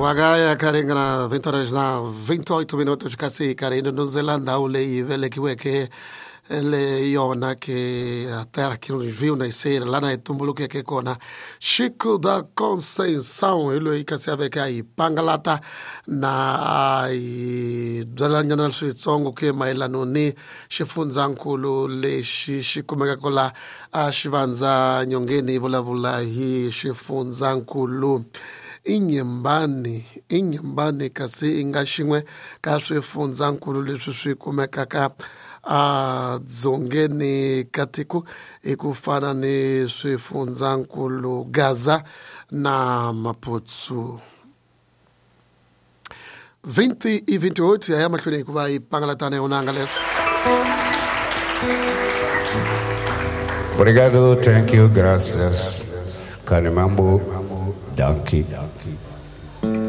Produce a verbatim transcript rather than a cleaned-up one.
Wakaya karingana vinte horas na vinte e oito minutos kasi karindo no Zelanda leyi velekiweke le yona que a terra que nos viu nascer lá na tumbuluke kona Chico da Conceição ele kasi aveka aí pangalata na ai byalanyana switsongo ke mayelano ni xifundzankulu lexi xi kumekaka la a xivandza nyongeni vulavula hi xifundzankulu Inhambane, Inhambane kasi i nga xin'we ka swifundzankulu leswi swi kumekaka a dzongeni ka tiko hi ku fana ni swifundzankulu Gaza na Maputo. vinte e vinte e oito ya mahlweni hikuva yi pangalatana ya unanga leswi. Obrigado, thank you, gracias. Kanimambo, danke.